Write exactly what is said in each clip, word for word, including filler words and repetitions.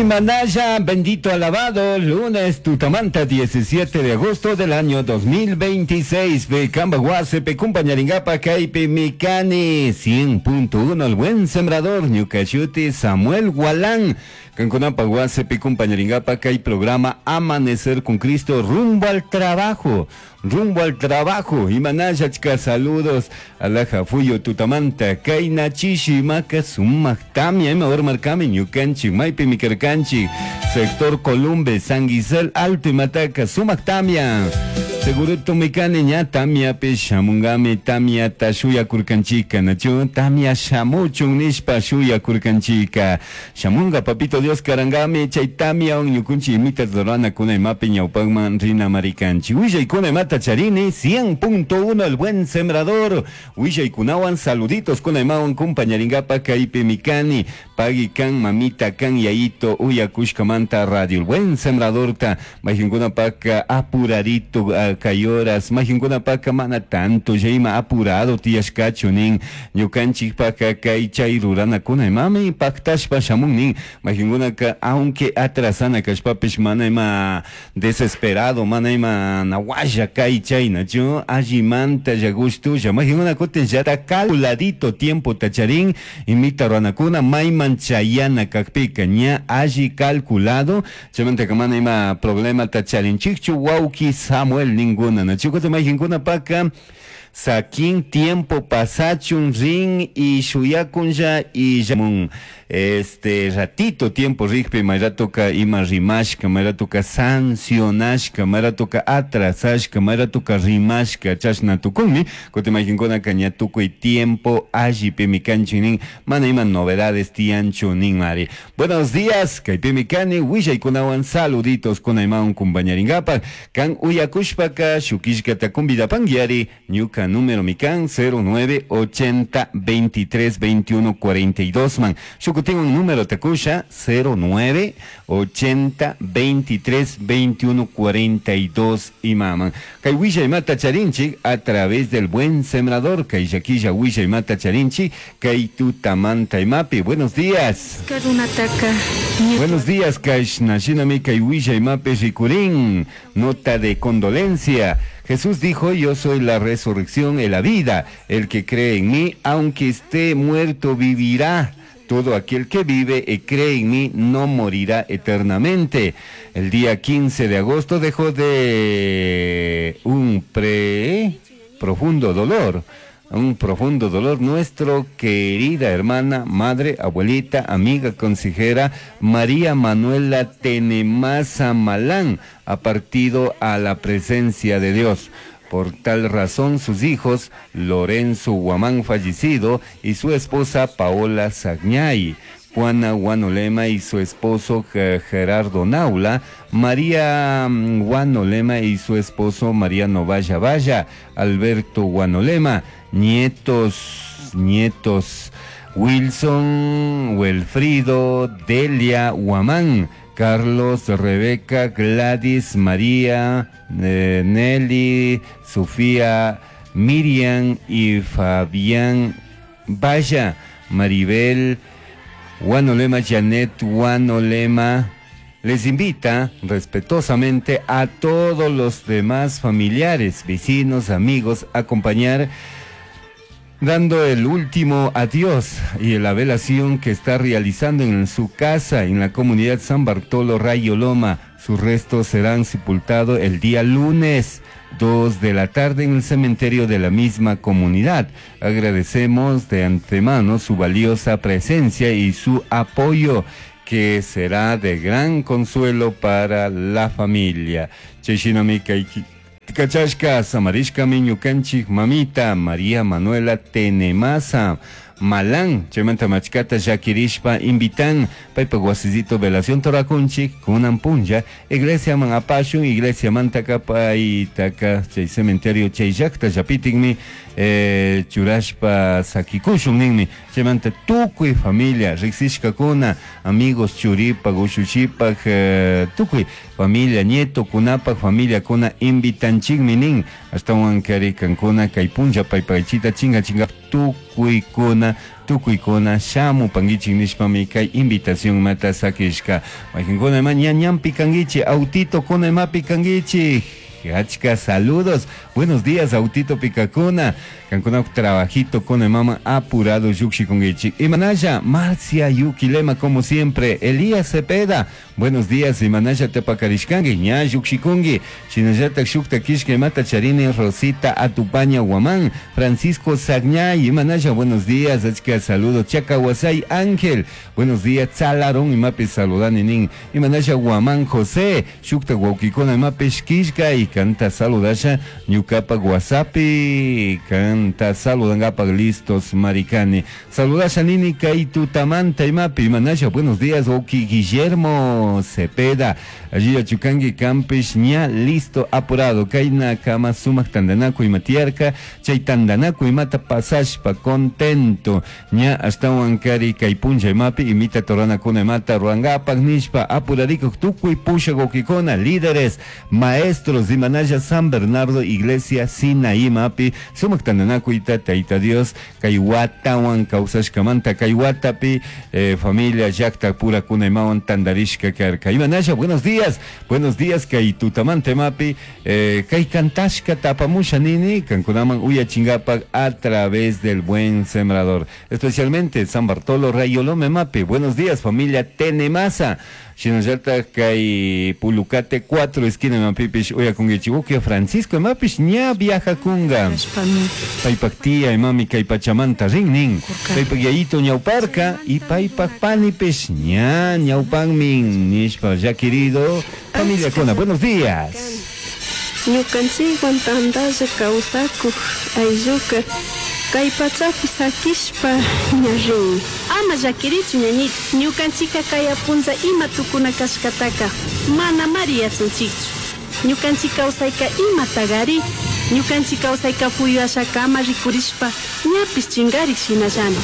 Imanaya, bendito alabado, lunes tutamanta diecisiete de agosto del año dos mil veintiséis. Kamba Huasepe, compañeringapa, Kaipe Mikani, cien punto uno, el buen sembrador, Ñucashuti, Samuel Gualán. Canconapa Huasepe, compañeringapa, Kai programa Amanecer con Cristo, rumbo al trabajo. Rumbo al trabajo. Imanaya, chica, saludos. Alaja, fuyo, tutamanta, Kaina, chishi, maca, sumac, tamia, ima, ormarcami, ñucanchi, maipi, micarcanchi, sector Columbe, San Gisel, Alto y Mataca, sumac, tamia. Seguro tumicani, ña, tamia, pe, shamungami, tamia, tashuya, curcanchica, nacho, tamia, shamuchun, nishpa, shuya, curcanchica. Shamunga, papito Dios, carangami, chay, tamia, un, ñucunchi, imita, dorana, cuna, imapi, ñaupagman, rina, maricanchi. Huilla, cuna, imata, charini, cien punto uno, el buen sembrador. Huilla, cunawan, saluditos, cuna, imawan, compañeringapa, caipe, micani, pagui, can, mamita, can, yaito, uya, cushcamanta, radio, el buen sembrador, ta, majincuna, paca, apuradito, a, cayoras, majincuna, paca, mana, tanto, yaima, apurado, tiashcacho, nin, ñucanchi, paca, cai, chay, rurana, cuna, imami, pactashpa, shamun, nin, majincuna, ca, aunque atrasana, cashpapish, mana, ima, desesperado, mana, ima, nahuaya, cai, chay, nacho, allimanta, yagustu, ya, majincuna, cutin, ya, ta calculadito tiempo, tacharín, imita, ruanacuna, maiman, chayana, cacpica, ña, alli calculado, chamanta, que mana, ima, problema, tacharín, chichu, wauki, Samuel, ninguna, nacho, cutin, majincuna, paca, saquín tiempo pasachun rin y shuyakunja y yamun este ratito tiempo rigpe mayratoka ima rimashka mayratoka sancionashka mayratoka atrasashka mayratoka rimashka chashna tukunmi kutimajinkuna kaña tukuy tiempo allipi mikanchinin mana ima novedades tianchu nin mari. Buenos días kaypi mikani willaykunawan saluditos kuna imawan kumpañaringapaq kan uyakushpaka shukishkata kumbidapanguiari ñuka número mikan cero nueve ochenta veintitrés veintiuno cuarenta y dos man. Shukutin un número takusha cero nueve ochenta veintitrés veintiuno cuarenta y dos imaman. Kay willa imata charinchi a través del buen sembrador. Kay yaquilla willa imata charinchi kay tutamanta imapi. Buenos días. Buenos días kashna shinami kay willa imapi rikurin. Nota de condolencia. Jesús dijo, yo soy la resurrección y la vida. El que cree en mí, aunque esté muerto, vivirá. Todo aquel que vive y cree en mí no morirá eternamente. El día quince de agosto dejó de un pre profundo dolor. Un profundo dolor, nuestro querida hermana, madre, abuelita, amiga, consejera, María Manuela Tenemaza Malán, ha partido a la presencia de Dios. Por tal razón, sus hijos, Lorenzo Guamán fallecido y su esposa Paola Sagñay, Juana Guanolema y su esposo Gerardo Naula, María Guanolema y su esposo Mariano Valla Valla, Alberto Guanolema, nietos, nietos, Wilson, Wilfrido, Delia Guamán, Carlos, Rebeca, Gladys, María, eh, Nelly, Sofía, Miriam y Fabián Valla, Maribel Guanolema, Janet Guanolema, les invita respetuosamente a todos los demás familiares, vecinos, amigos, a acompañar dando el último adiós y la velación que está realizando en su casa en la comunidad San Bartolo Rayo Loma. Sus restos serán sepultados el día lunes dos de la tarde en el cementerio de la misma comunidad. Agradecemos de antemano su valiosa presencia y su apoyo, que será de gran consuelo para la familia. Cheshinamikaiki. Kachashka, Samarishka, Miñukanchik, Mamita, María Manuela Tenemaza Malán, Chemanta Machkata, Yakirishpa, invitan, Paipa Guasizito, Velación Torakunchik, Kunampunja, Iglesia Manapashun, Iglesia Mantaka, Paitaka, Chay Cementerio, Chay Yakta, Yapitingmi, eh, churashpa sakikushun ninmi. Chaymanta tukuy familia riksishkakuna amigos churipak ushushipak eh, tukuy familia nietokunapak familiakuna invitanchikmi nin. Ashtawan kari kankuna kay punlla paypaychita chinga chinga tukuykuna tukuykuna shamupankichik nishpami kay invitación mata sakishka. Mayqinkuna ima ña ñanpi kankichik autito kuna imapi kankichik Achka saludos. Buenos días, autito picacuna. Kankuna trabajito con mama apurado yukshikungichik. Imanaya, Marcia Yukilema, como siempre. Elías Cepeda. Buenos días, Imanaya tepakarishkangi. Ña yukshikungi. Shinallata shukta kishka imata charini Rosita Atupaña Guamán. Francisco Sagñay. Imanaya, buenos días. Achka saludos. Chacahuasay Ángel. Buenos días, Tzalarón. Imapi saludani nin. Imanaya Guamán José. Shukta Guauquicona imapis kishka y kanta saludasha ñukapak WhatsAppi kanta saludangapak listos maricani. Saludasha nini kay tutamanta imapi imanasha buenos días Oki Guillermo Cepeda. Allí achukangi campish ña listo apurado. Kayna kama sumak tandanaku imatiarka chay tandanaku imata pasashpa contento. Ña ashtawan kari kay punlla imapi imita toranakuna imata ruangapak nishpa apurarikuk tukuy pushak líderes maestros imanaya San Bernardo Iglesia Sinaí mapi sumak tandanakuyta Tayta Dios kay watawan kawsashkamanta kay watapi eh, familia llaqta purakuna imawan tandarishka karka. Imanaya buenos días buenos días kay tutamanta mapi eh, kay kantashka tapamusha nini kankunaman uyachingapak a través del buen sembrador. Especialmente San Bartolo Rayolome mapi buenos días familia Tenemasa Shinallata kay Pulucate cuatro esquina mapipish uyakungichik uki Francisco mapish ña viajakunga paypak tía imami kay pachamanta rin nin. Paypak yayito ñawparka y paypak panipish ña ñawpanmin nishpa ya querido familia kuna buenos días. Ñukanchikwan tantalla kawsakuq aylluka kay pachapi sakishpa ña rin ama llakirichu ñañita ñukanchika kay apunlla ima tukuna kashkataka mana mari yachanchikchu ñukanchik kawsayka imatagari ñukanchik kawsayka puyu ashakama rikurishpa ñapish chingarik shinallami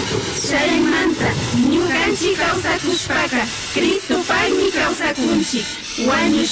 Chaymanta ñukanchik kawsakushpaka Cristopaqmi kawsakunchik wañush